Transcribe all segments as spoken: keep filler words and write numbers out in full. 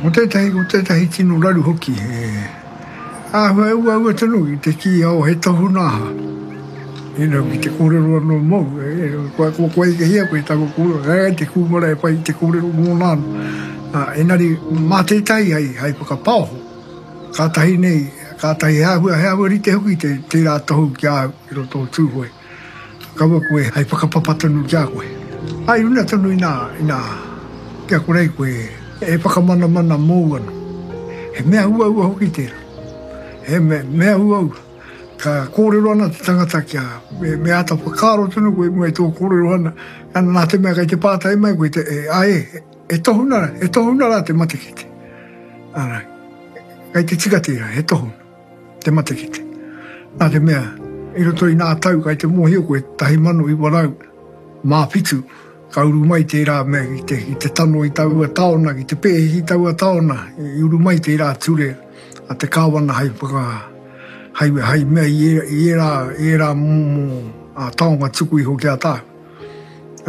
Ko tētahi, ko tētahi tino raru hoki, he āhua uaua tonu ki te kī oh he tohu nā aha. You know, ki te kōrero anō mōu, e, kua, kua, kua ekehia koe taku kōrero, hei te kūmara e pai te kōrero mōna anō. Uh, engari, mā tētahi hei, hei whakapaoho, kātahi nei, kātahi he āhua, he āhua rite hoki te, tērā tohu ki a au i roto o Tūhoe. Kaua koe hei whakapapa tonu ki a koe. Ai runa tonu inā, inā, kia kore koe e whakamanamana mōu anō. He mea uaua hoki tērā. He mea, mea uaua. Ka kōrero ana te tangata kia, me, me āta whakaaro tonu koe mua i tō kōrero ana, ana nā te mea kei te pātai mai koe, te, e, ai, e, e tohuna, e tohuna rā te matekite. Ana, kei te tika tērā, he tohuna, te matekite. Nā te mea, i roto i nā tau kei te mōhio koe, tahi mano iwa rau, mā whitu, ka uru mai tērā mea ki te, ki te tano i taua taona, ki te pēhi i taua taona, i uru mai tērā ture a te kāwana hei whaka, hei, hei mea i ērā, i ērā, i ērā momo a taonga tuku iho ki a tāu.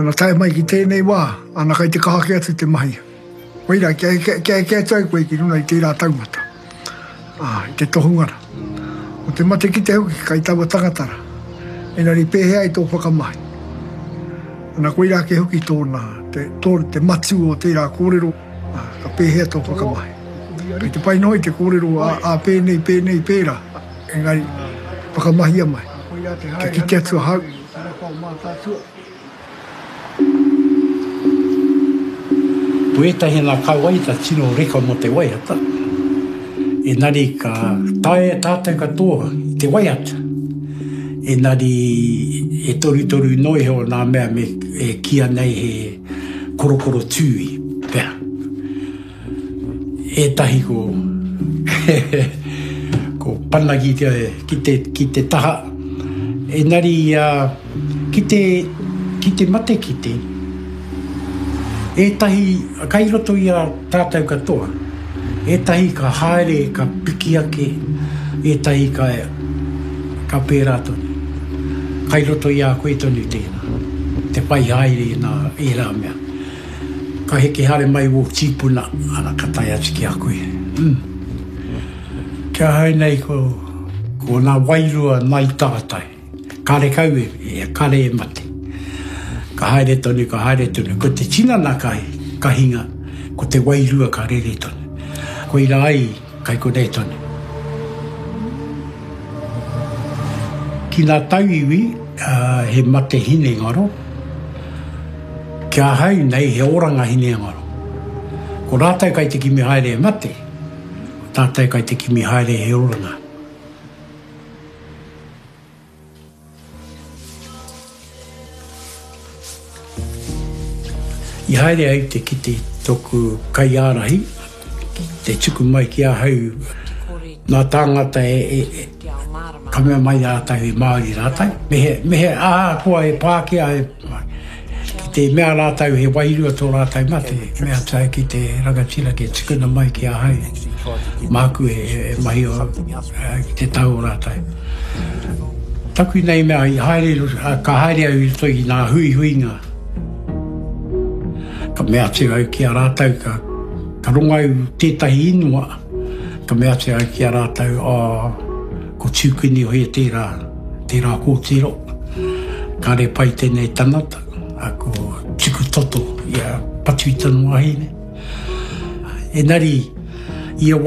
Ana tae mai ki tēnei wā, ana kai te kaha kē atu te mahi. Koira, kia, kia, kia eke atu ai koe ki runa i tērā taumata, ah, i te tohungara. O te matekite hoki kai taua tangata rā. Engari pēhea i tō whakamahi. Ana koira ake hoki tōna, te, tō, te matū o tērā kōrero, ah, ka pēhea tō whakamahi. Kei te pai noa i te kōrero a, a pēnei, pēnei, pērā. Engari, whakamahia mai. Kia kite atu ahau. Ko ētahi nā ka waiata tino reka mō te waiata, engari ka taea tātou katoa i te waiata. Engari e torutoru noa iho nā mea me e kīa nei he korokoro tūi pea. Ētahi ko ko pana ki te, ki te, ki te taha. Engari uh, ki te, ki te matekite, ētahi kai roto i a tātou katoa, ētahi ka haere, ka piki ake, ētahi ka, ka pērā tonu. Kai roto i a koe tonu tēnā, te whai haere i nā ērā mea. Ka heke haere mai wō tīpuna, ana ka tae atu ki a koe. Mm. Kia ahau nei ko, ko nā wairua nai tātai. Kare kau e, e, kare e mate. Ka haere tonu, ka haere tonu. Ko te tinana ka, ka hinga, ko te wairua ka rere tonu. Koira ai, kai konei tonu. Ki nā tauiwi, uh, he mate hinengaro. Ki ahau nei, he oranga hinengaro. Ko rātou kai te kimi haere e mate, ko tātou kai te kimi haere he oranga. I haere au te kite tōku kaiārahi, te tuku mai ki ahau nā tāngata e, e, e ka mea mai rātou he Māori rātou. Me he, me he ahakoa he Pākehā, he, ki te mea rātou he wairua tō rātou mate, mea atu au ki te rangatira ke tukuna mai ki ahau, māku e, e, e mahi o, ki te tau o rātou. Taku nei mea i haere, ka haere au i roto i ngā huihuinga. Ka mea atu au ki a rātou, ka, ka rongo au tētahi ingoa, ka mea atu au ki a rātou, oh, ko Tūkinihoe tērā, tērā kōtiro, kāre pai tēnei tangata, a ko Tuku Toto i a patu i tana wahine. Engari, ia